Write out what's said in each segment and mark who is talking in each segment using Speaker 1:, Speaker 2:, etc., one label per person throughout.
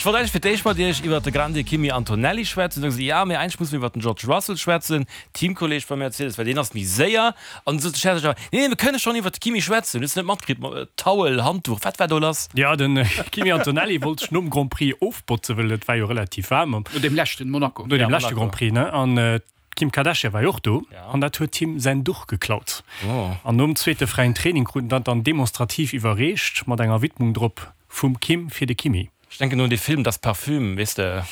Speaker 1: Ech wollt eigentlech fir d'éischt mat Iech iwwert de Grande Kimi Antonelli schwätzen. Dann hu se gesot, ja, mee eigentlech musse mir iwwert den George Russell schwätzen, Teamkolleeg bei Mercedes, well deen ass méi séier. An du sot de Serge awer, nee, nee, mir kënne schonn iwwert de Kimi schwätzen. Hues de net matkritt, Towel, Handduch, wat war do lass?
Speaker 2: Jo, de Kimi Antonelli wollt sech nom Grand Prix ofbotzen, well et war jo relativ waarm.
Speaker 3: No deem leschten, Monaco.
Speaker 2: No deem leschte Grand Prix, ne? An d'Kim Kardashian war jo och do an dat huet him säin Duch geklaut. An nom zweete fräien Training krut en dat dann demonstrativ iwwerreecht, mat enger Widmung drop vum Kim fir de Kimi.
Speaker 1: Ech denken un dee Film Das Parfüm, weess de.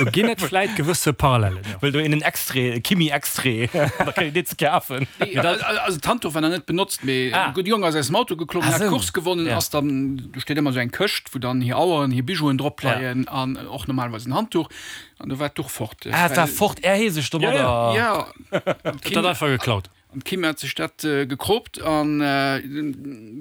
Speaker 2: Do ginn et vläit gewësse Parallellen, jo.
Speaker 1: Wëll do een en Extrait, e Kimi-Extrait, da kritt een dee ze kafen.
Speaker 3: Nee, also d'Handduch war nach net benotzt, mee e gudde Jong ass aus dem Auto geklommen, hat d'Course gewonnen, ass dann, do steet ëmmer esou eng Këscht, wou dann hir Aueren, hir Bijouen drop leien an och normalerweis en Handduch, an do war d'Duch fort.
Speaker 1: Ah, et war fort, är hee sech domadder.
Speaker 3: Jo,
Speaker 2: jo. Et hat einfach geklaut.
Speaker 3: An d'Kim hat sech dat gekropt an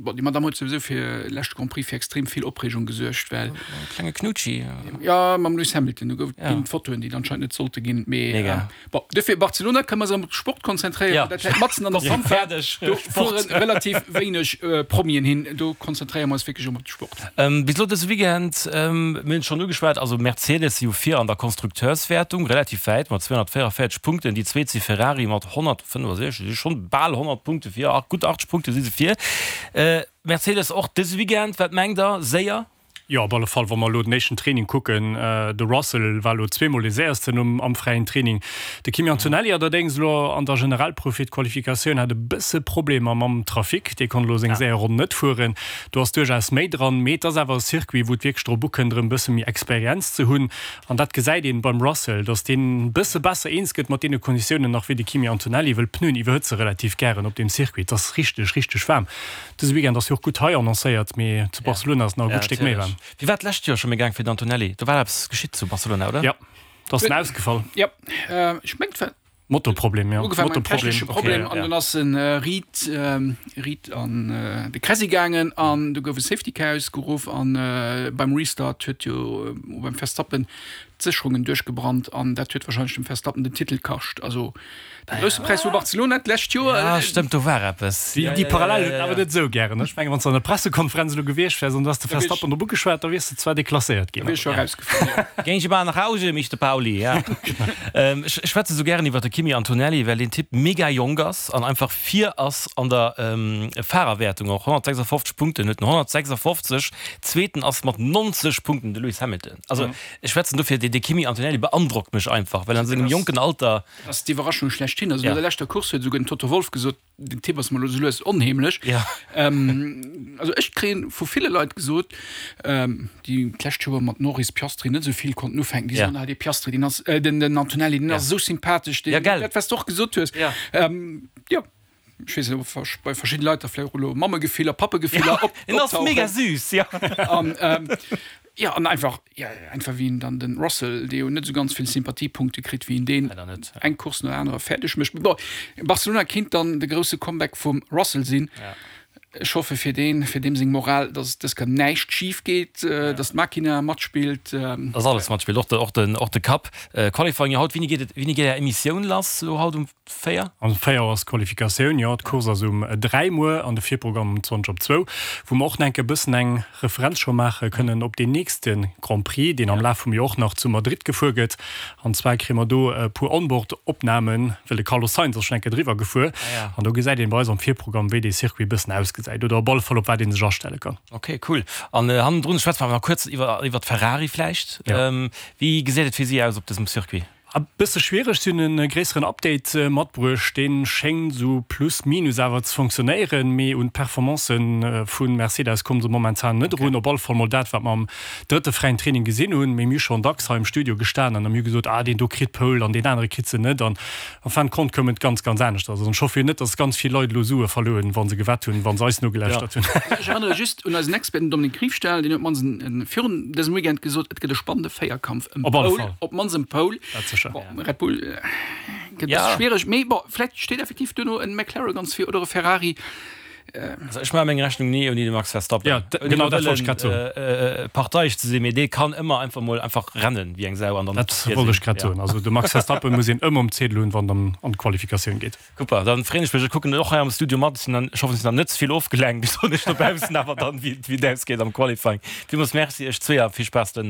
Speaker 3: bon, déi Madame huet souwisou fir leschte Grand Prix fir extrem vill Opreegung gesuergt, well.
Speaker 1: E klenge Knutschi.
Speaker 3: Jo, mam Lewis Hamilton, do gouf et ginn Fotoen, déi et anscheinend net sollte ginn, mee bon, duerfir Barcelona kënne mer eis erëm op de Sport konzentréieren, dat läit matzen an der Pampa, do fuere relativ wéineg Promien hin, do konzentréiere mer eis wierklech erëm op de Sport.
Speaker 1: Bis elo dëse Weekend, mir hunn et schonn ugeschwat, also Mercedes si jo vir an der Konstrukteurswäertung, relativ wäit mat 244 Punkten, déi zweet si Ferrari mat 165, si schonn bal 100 Punkte vir, gutt 80 Punkte si se vir. Mercedes och dëse Weekend, wat mengt der, séier?
Speaker 2: Jo, op alle Fall, wa mer elo den éischten Training kucken, de Russell war elo zweemol dee séiersten um am fräien Training. De Kimi Antonelli allerdéngs elo an der Generalprouf fir d'Qualifikatioun hat e bësse Problemer mam Trafic, dee konnt elo seng séier Ronn net fueren. Do ass duerchaus méi dran, mee et ass awer e Circuit, wou et wierklech drop ukënnt, erëm e bësse méi Experienz ze hunn. An dat gesäit een beim Russell, dass deen e bësse besser eens gëtt mat deene Konditiounen nach wéi de Kimi Antonelli, wëll d'Pneuen iwwerhëtze relativ gären op deem Circuit. Et ass richteg, richteg waarm. Dëse Weekend ass jo och gutt hei annoncéiert, mee zu Barcelona ass et nach e gutt Stéck méi waarm.
Speaker 1: Wéi war d'lescht Joer scho méi gaang fir den Antonelli? Do war eppes geschitt zu Barcelona, oder?
Speaker 2: Jo, do ass en ausgefall.
Speaker 3: Jo, ech mengt war.
Speaker 2: Motorproblem, jo.
Speaker 3: Ugefaangen mam technesche Problem an dunn ass en riit riit an de Kräsi gaangen an du gouf e Safety Car ausgeruff an beim Restart huet jo beim Verstappen d'Sécherungen duerchgebrannt an dat huet warscheinlech dem Verstappen den Titel kascht. Also de Grousse Präis vu Barcelona d'lescht Joer.
Speaker 1: Ah stëmmt, do war eppes.
Speaker 2: Déi Parallel huet en awer net esou gären. Ech mengen, wann s de an der Pressekonferenz elo gewiescht wäers an du häss de Verstappen drop ugeschwat, da wiers de zwar deklasséiert ginn.
Speaker 3: Da wier ech scho erausgefall, jo.
Speaker 1: Gehen Sie mal nach Hause, Mister Pauli, ja. Ech schwätze sou gären iwwer de Kimi Antonelli, well deen Typ mega jonk ass an einfach vir ass an der Fahrerwäertung och. 156 Punkten huet en, 156! Zweeten ass mat 90 Punkten de Lewis Hamilton. Also ech schwätzen dofir, dee Kimi Antonelli beandrockt mech einfach, well an sengem jonken Alter.
Speaker 3: Dat ass d'Iwwerraschung schlechthin. Also no der leschter Course huet esouguer den Toto Wolff gesot, Den Tipp ass mer elo sou lues onheemlech.
Speaker 1: Ja.
Speaker 3: Also ech kréien vu ville Leit gesot, déi d'lescht Joer mat Norris, Piastri net esou vill konnten ufänken, déi soen, ah dee Piastri, deen ass, den den Antonelli, deen ass esou sympathesch, deen, dat wat s de och gesot hues. Jo, ech weess net, ob bei verschidde Leit da vläicht och elo Mammegefiller, Pappegefiller
Speaker 1: optauchen. En ass mega süß,
Speaker 3: jo. An jo, an einfach, jo, einfach wéi en dann den Russell, dee jo net esou ganz vill Sympathiepunkte kritt, wéi en deen eng Course no der anerer fäerdeg mécht. Bon, Barcelona kinnt dann de grousse Comeback vum Russell sinn. Ech hoffe fir deen, fir deem seng Moral, datt dës Kéier näischt schif geet, datt d'Makina matspillt.
Speaker 1: Datt alles matspillt, och de, och den, och de Kapp. Qualifying jo haut. Wéini geet et, wéini geet Är Emissioun lass elo haut um 4?
Speaker 2: Um 4 Auer ass d'Qualifikatioun, jo. D'Course ass um 3 muer an de Virprogramm um 20 op zwou, wou mer och nach enke bëssen eng Referenz scho maache kënnen op deen nächste Grand Prix, deen am Laf vum Joer och nach zu Madrid gefuer gëtt. An zwar kréie mer do e puer Onboard-Opnamen, well de Carlos Sainz ass schonn eng Kéier driwwer gefuer. An do gesäit een bei eis am Virprogramm, wéi dee Circuit e bëssen ausgesäit oder op alle Fall op wat ee sech astelle kann.
Speaker 1: Ok, cool. An hannendrun schwätze mer awer nach kuerz iwwer iwwer d'Ferrari vläicht. Wéi gesäit et fir si aus op dësem Circuit?
Speaker 2: E bësse schwiereg, si hunn e gréisseren Update matbruecht, dee schéngt esou plus minus awer ze fonctionnéieren, mee un d'Performancë vu Mercedes komme se momentan net erun. Op alle Fall mol dat, wat mer am drëtte fräien Training gesinn hunn. Mee mir hu schonn dacks hei am Studio gestanen an mir hu gesot, ah deen do kritt d'Pole an deen anere kritt se net. An en fin de compte koum et ganz, ganz aneschters. Also ech hoffe jo net, datt ganz vill Leit elo Sue verluer hunn, wa se gewett hunn, wa se eis nogelauschtert hunn.
Speaker 3: Ech erënnere just un eisen Expert, den Dominique Riefstahl, deen huet d'mannst virun dësem Weekend gesot, et gëtt e spannende Véierkampf. Ëm
Speaker 2: Op alle Pole, Fall.
Speaker 3: op d'mannst ëm Pole.
Speaker 2: Dat sécher.
Speaker 3: Bon, Red Bull gëtt e bësse schwiereg, mee bon, vläicht steet effektiv duerno en McLaren ganz vir oder e Ferrari.
Speaker 1: Also ech maache meng Rechnung ni ouni de Max Verstappen.
Speaker 2: Ja,
Speaker 1: Ouni
Speaker 2: genau dat wollt ech grad soen.
Speaker 1: wëllen parteieg ze sinn, mee dee kann ëmmer einfach mol einfach rennen wéi eng Sau an dann
Speaker 2: Dat
Speaker 1: vir
Speaker 2: wollt
Speaker 1: sinn.
Speaker 2: ech grad
Speaker 1: Ja.
Speaker 2: soen. Also de Max Verstappen muss een ëmmer um Ziedel hunn, wann et an an d'Qualifikatioun geet.
Speaker 1: Super, dann freen ech mech. Ech kucken och hei am Studio mat. Ech sinn dann, ech hoffen, ech sinn dann net ze vill ofgelenkt. Ech soen iech dobaussen awer dann, wéi et ausgeet am Qualifying. Villmools Merci iech zweeër. Vill Spaass den.